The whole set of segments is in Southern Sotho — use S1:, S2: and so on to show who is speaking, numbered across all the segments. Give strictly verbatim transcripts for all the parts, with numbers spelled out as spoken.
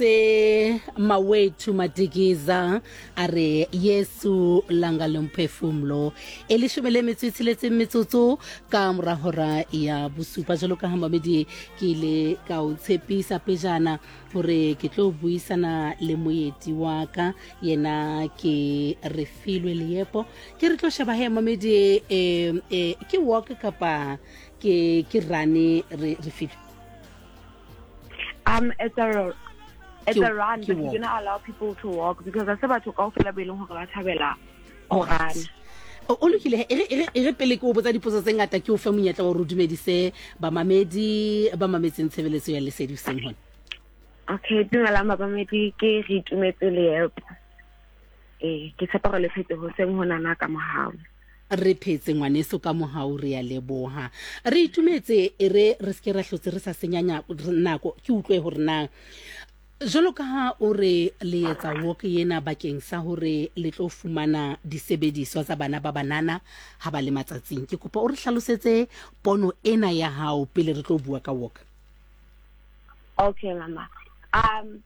S1: Se Mawethu Madikiza a re Yesu langa lomphefumlo. E leshome le metso e tsheletseng metsotso ka mora hora ya bosupa. Jwalo ka ha mamedi ke ile ka o tshepisa pejana hore ke tlo buisana le moeti wa ka, yena ke Refilwe Leepo. Ke re tlo sheba he mamedi, eh, eh, ke walk kapa ke ke run re Refilwe?
S2: Um, it's a it's
S1: Ke-
S2: a run,
S1: ke
S2: but we're
S1: walk.
S2: Gonna allow people to walk because I batho kaofela be leng hore ba thabela ho run.
S1: O o lokile. E re e re e re pele ke o botsa dipotso tse ngata, ke o fe monyetla wa hore o dumedise bamamedi ba mametseng tshebeletso ya Lesedi hoseng hona.
S2: Okay, dumelang bamamedi, ke re itumetse Leepo. Eh, ke tshepa hore le phetse hoseng honana ka mohau.
S1: Re phetse ngwaneso ka mohau, re ya leboha. Re itumetse. E re re seke ra hlotse re sa senyanya nako, ke utlwe hore na jwalo ka ha o re le etsa walk ena bakeng sa hore le tlo fumana disebediswa tsa bana ba banana ha ba le matsatsing, ke kopa o re hlalosetse pono ena ya hao pele re tlo bua ka walk.
S2: Okay, mama. Um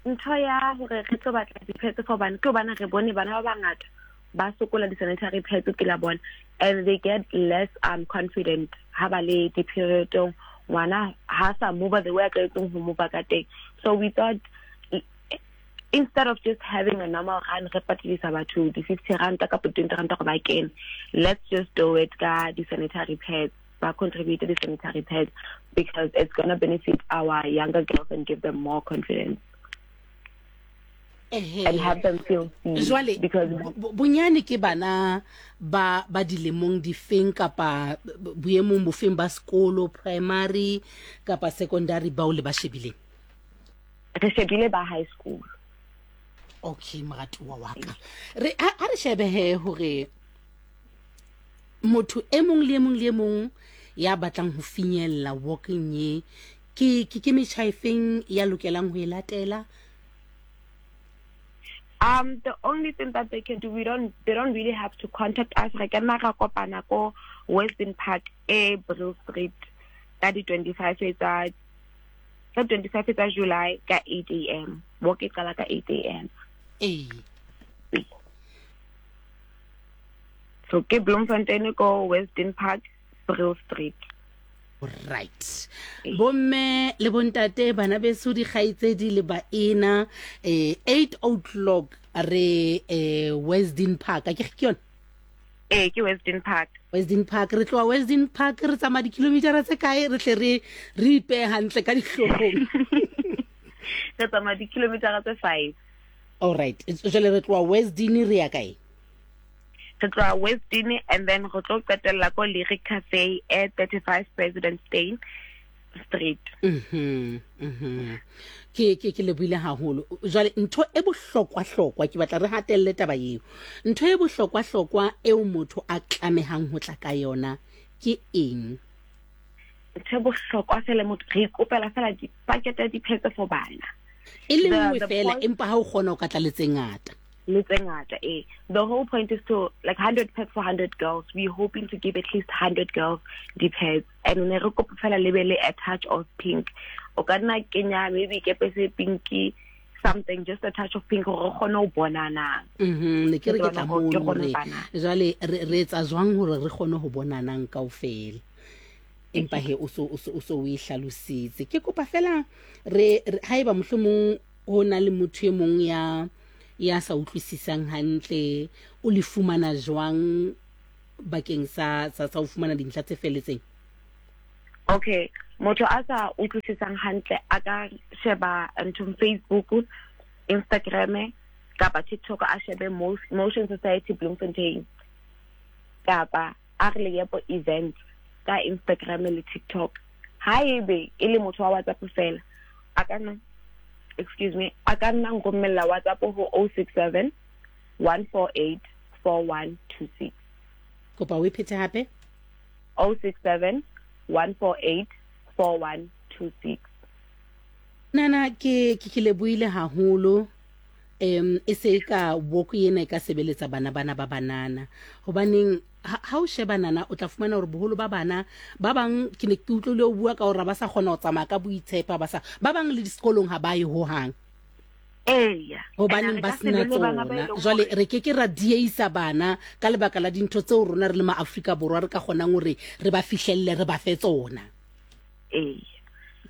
S2: ntho ya hore re tlo batla di-pads for bana ke hobane re bone bana ba bangata ba sokola di-sanitary pads pela bona and they get less um confident ha ba le di-periodong. Ngwana ha sa move the way a tlwaetseng ho move ka teng. So we thought, instead of just having a normal run, re patadisa batho di-fifty ranta kapa twenty ranta gore ba kene, let's just do it ka di-sanitary pads, ba contribute di-sanitary pads, because it's gonna benefit our younger girls and give them more confidence and have them feel seen.
S1: Jwale
S2: because
S1: bo- bonyane ke bana ba ba dilemong difeng kapa boemong bofeng ba sekolo, primary kapa secondary, bao le ba shebileng?
S2: Re shebile ba high school.
S1: Okay, moratuwa wa ka, re ha ha re shebe he hore motho e mong le e mong le e mong ya batlang ho finyella walking ye, ke ke ke metjha e feng ya lokelang ho e latela?
S2: Um, the only thing that they can do, we don't, they don't really have to contact us. Re ka nna ra kopana ko Western Park e Brill Street ka di twenty-five tsa ka twenty-five tsa July ka eight a m. Walk e qala ka eight a m.
S1: Ee.
S2: So ke Bloemfontein ko Western Park, Brill Street.
S1: Right, bomme le bontate, bana beso, dikgaitsedi le baena, eh eight o'clock re eh Western Park, a ke ke yona?
S2: Eh, ke Western Park.
S1: Western Park. Re tloha Western Park re tsamaya dikilometera tse kae, re tle re re ipehe hantle ka dihloohong?
S2: Re tsamaya di-kilometer tse five.
S1: All right, jwale re tloha Westdene re ya kae?
S2: Re tloha Westdene and then re tlo qetella ko Lyric Cafe e thirty-five President Steyn Street.
S1: Mhm, mhm. Ke ke ke lebohile haholo. Jwale ntho e bohlokwa-hlokwa, ke batla re hatelle taba eo. Ntho e bohlokwa-hlokwa eo motho a tlamehang ho tla ka yona ke eng?
S2: Ntho e bohlokwa fela, motho re ikopela fela dipakete di-pads for bana.
S1: E le nngwe fela, empa ha o kgona o ka tla le tse ngata.
S2: Le tse ngata, eh. The whole point is to, like, one hundred pads for one hundred girls. We're hoping to give at least one hundred girls di-pads and ne re kopa fela le be le a touch of pink. O ka nna kenya maybe kepese pinky, something, just a touch of pink, gore re kgone ho bonana.
S1: Mhm, ne ke re ke tla
S2: Ke
S1: mono
S2: kgone
S1: hore
S2: bana.
S1: Jwale re re etsa jwang hore re kgone ho bonanang kaofela, empa he o so o so o so o e hlalositse. Ke kopa fela re re- haeba mohlomong ho na le motho e mong ya ya sa utlwisisang hantle, o le fumana jwang bakeng sa sa sa ho fumana dintlha tse felletseng?
S2: Okay, motho a sa utlwisisang hantle a ka sheba nthong Facebook, Instagram kapa TikTok, a shebe Mo- motion Society Bloemfontein kapa a re Leepo Event ka Instagram le TikTok. Haebe e le motho wa WhatsApp fela, a ka nna, excuse me, a ka nna nromella WhatsApp ho zero six seven one four eight four one two six.
S1: Kopa o e phete hape.
S2: zero six seven one four eight four one two six.
S1: Nana, ke ke ke lebohile haholo. Em e se ka walk ena e ka sebeletsa bana bana ba banana, hobaneng ha ha o sheba nana, o tla fumana hore boholo ba bana ba bang, ke ne ke utlwile o bua ka hore ha ba sa kgona ho tsamaya ka boitshepo, ba sa ba bang le disekolong ha ba ye hohang.
S2: Eya.
S1: Hobaneng ba sena tsona? Jwale re ke ke ra dieisa bana ka lebaka la dintho tseo rona re le ma Afrika Borwa re ka kgonang hore re ba fihlelle re ba fe tsona.
S2: Eya.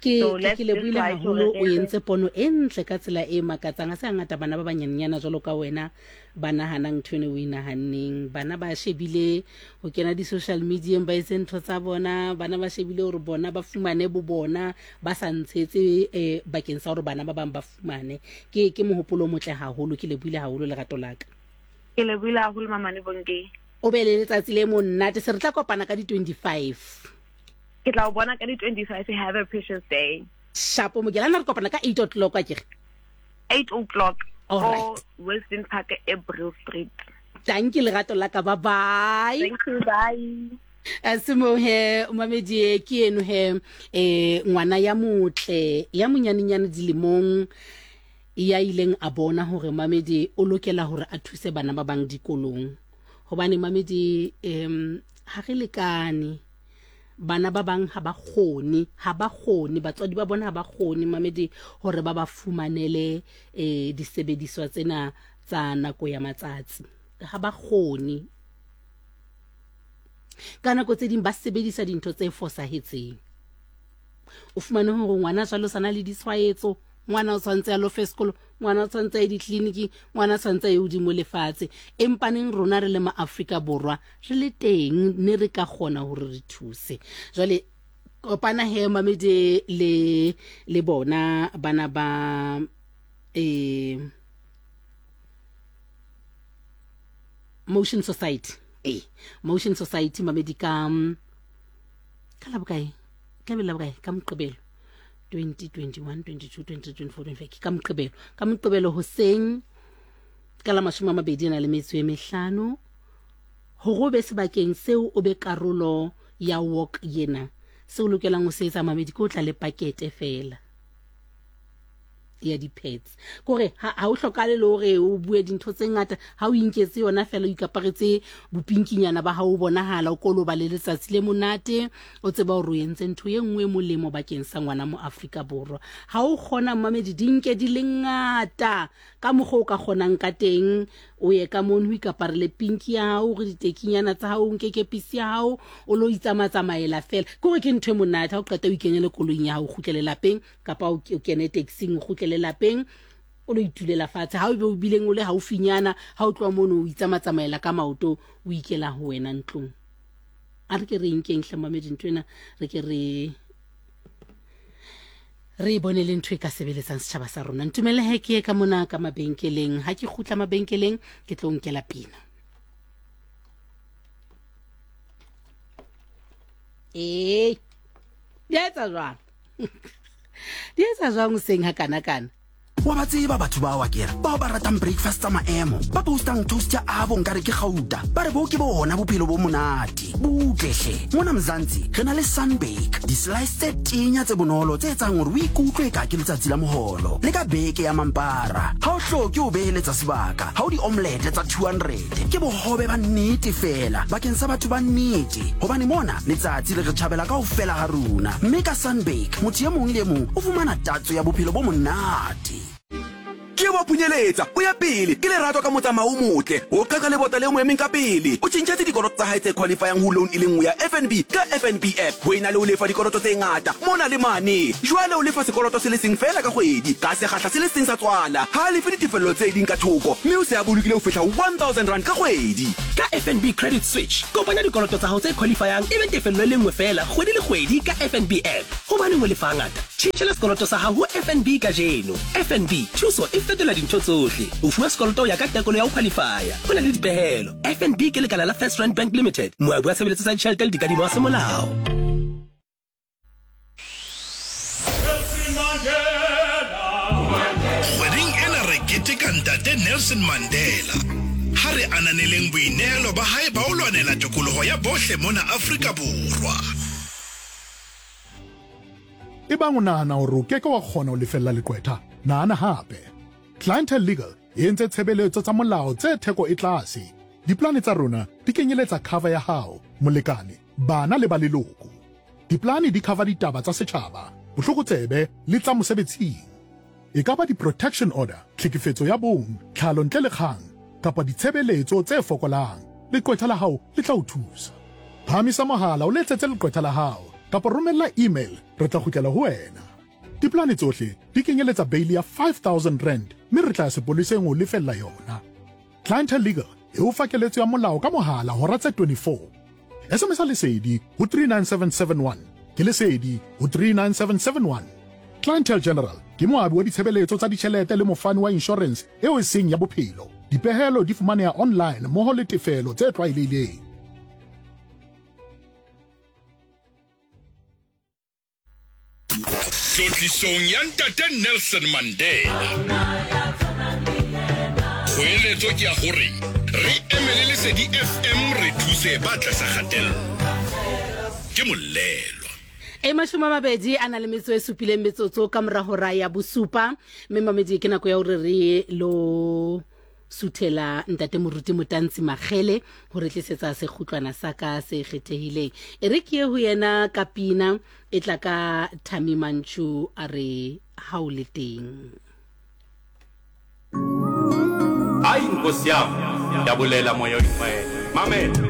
S1: Ke ke lebohile haholo, o entse pono e ntle ka tsela e makatsang. Ha se hangata bana ba banyenyana jwalo ka wena ba nahanang ntho eno o e nahanneng. Bana ba shebile ho kena di-social media ba etse ntho tsa bona, bana ba shebile hore bona ba fumane bo bona ba sa ntshetse eh, bakeng sa hore bana ba bang ba fumane. Ke ke mohopolo o motle haholo, ke lebohile haholo lerato la ka.
S2: Ke lebohile haholo Mamane Bonke.
S1: O be le letsatsi le monate, se re tla kopana ka di twenty-five.
S2: Ke tla o bona ka di twenty-five. Have a precious day.
S1: Shapo Mokelana, re kopana ka eight o'clock akere?
S2: eight o'clock.
S1: All right.
S2: Western Park, April Street.
S1: Thank you lerato la ka, bye bye.
S2: Thank you, bye.
S1: Asimo he mamedi ke eno he eh ngwana ya motle ya monyanenyane dilemong ya ileng a bona hore mamedi o lokela hore a thuse bana ba bang dikolong. Hobane mamedi em ha re lekane, bana ba bang ha ba kgone, ha ba kgone, batswadi ba bona ha ba kgone mamedi hore ba ba fumanele eh disebediswa tsena tsa nako ya matsatsi. Ha ba kgone. Ka nako tse ding ba sebedisa dintho tse fosahetseng. O fumane hore ngwana jwalo sana le ditshwaetso, ngwana o tshwantse a lo fe sekolo, ngwana o tshwantse a ye ditleliniking, ngwana o tshwantse a ye hodimo lefatshe. Empaneng rona re le ma Afrika Borwa re le teng ne re ka kgona hore re thuse. Jwale kopana he mamedi le le bona bana ba eh Motion Society. Eh Motion Society mamedi ka ka la bokae? Ka la bokae? Ka Moqebelo. twenty twenty-one, twenty-two, twenty-three, twenty-four, twenty-five ka Moqebelo. Ka Moqebelo hoseng ka la mashome a mabedi a na le metso e mehlano hore o be sebakeng seo o be karolo ya walk yena. Seo o lokelang ho se etsa mamedi ke o tla le pakete fela ya di-pads. Kore ha o hlokale le hore o bue dintho tse ngata, ha o inketse yona fela o ikaparetse bopinkinyana ba hao o bonahala o koloba le letsatsi le monate, o tseba hore o entse ntho e nngwe molemo bakeng sa ngwana mo Afrika Borwa. Ha o kgona mamedi di nke di le ngata ka mokgwa o ka kgonang ka teng, o ye ka mono o ikaparele pinki ya hao, re ditekinyana tsa hao, o nke kepisi ya hao, o lo itsamatsamaela fela. Kore ke ntho e monate ha o qeta o ikenyele koloing ya hao, o kgutlele lapeng, kapa o kene taxing o kgutlele lapeng, o lo itulela fatshe. Ha o be o bileng o le haufinyana, ha o tloha mono o itsamatsamaela ka maoto, o ikela ho wena ntlong. A re ke re nkeng hle mamedi ntho ena, re ke re re bone le ntho e ka sebeletsang setjhaba sa rona. Ntumelle he ke ye ka mona ka mabenkeleng. Ha ke kgutla mabenkeleng ke tlo nkela pina. Eh, di etsa jwang? Di etsa jwang hoseng ha kana kana?
S3: Wa ba tseba batho ba wa kere bao ba ratang breakfast tsa maemo, ba postang toast ya abo nkare ke gauta, ba re bo ke bona bophelo bo monate. Butlehle mona Mzansi re na le sunbake, di-slice tse tenya tse bonolo tse etsang hore o ikutlwe ka ke letsatsi la moholo le ka beke ya mampara. Ha o hloke o beheletsa sebaka, ha o di-omelette tsa two hundred, ke bohobe ba nnete fela bakeng sa batho ba nnete, hobane mona letsatsi le re tjhabela kaofela ha rona. Mme ka sunbake motho e mong le e mong o fumana tatso ya bophelo bo monate.
S4: Ke wa phunyeletsa o ya pele ke lerato ka motsamao o motle, o qeka lebota le mo emeng ka pele, o tjhentjhetse dikoloto tsa hae tse qualifyang ho loan e le nngwe ya F N B ka F N B app ho ena le ho lefa dikoloto tse ngata mona le mane. Jwale o lefa sekoloto se le seng fela ka kgwedi ka sekgahla se le seng sa tswala, ha a lefe ditefello tse ding ka thoko, mme o se a bolokile ho fihla one thousand rand ka kgwedi.
S5: Ka F N B Credit Switch kopanya dikoloto tsa hao tse qualifyang e be tefello e le nngwe fela kgwedi le kgwedi ka F N B app. Hobaneng o lefa ngata? Tjhentjhela sekoloto sa hao ho F N B kajeno. F N B thuso e fetola dintho tsohle. O fuwa sekoloto ya ka tekolo ya ho qualifya. Ho na le dipehelo. F N B ke lekala la First Rand Bank Limited, moabi wa tshebeletso tsa ditjhelete le dikadimo wa semolao.
S6: Kgweding ena re keteka ntate Nelson Mandela. Ha re ananeleng boinehelo ba hae ba ho lwanela tokoloho ya bohle mona Afrika Borwa.
S7: Ebang o nahana hore o keke wa kgona ho lefella leqwetha, nahana hape. Clientele Legal e entse tshebeletso tsa molao tse theko e tlase. Diplane tsa rona di kenyeletsa cover ya hao, molekane, bana le ba leloko. Diplane di cover ditaba tsa setjhaba, botlokotsebe le tsa mosebetsing. E ka ba di-protection order, tlhekefetso ya bong, tlhalo ntle le kgang, kapa ditshebeletso tse fokolang, leqwetha la hao le tla o thusa. Phahamisa mohala o letsetse leqwetha la hao kapa romella email, re tla kgutlela ho wena. Diplane tsohle di kenyeletsa bail ya five thousand rand mme re tla ya sepoleseng ho lefella yona. Clientele Legal e o fa keletso ya molao ka mohala hora tse twenty-four. S M S Lesedi ho three nine seven seven one. Ke Lesedi ho three nine seven seven one. Clientele General ke moabi wa ditshebeletso tsa ditjhelete le mofani wa insurance eo e seng ya bophelo. Dipehelo di fumaneha online mmoho le tefelo tse tlwaelehileng.
S6: Tlotlisong ya Ntate Nelson Mandela. Kgoeletso ke ya hore re emele Lesedi F M re thuse ba tlasa kgatello. Ke molelo.
S1: E mashome a mabedi a na le metso e supileng metsotso ka mora hora ya bosupa, mme mamedi ke nako ya hore re lo suthela Ntate Moruti Motantsi Makgele hore tlisetsa sekgutlwana sa ka se kgethehileng. E re ke ye ho yena ka pina e tla ka Thami Manchu a re ha o le teng.
S8: Ai nkosi yami, yabulela moya oyingcwele. Mamela.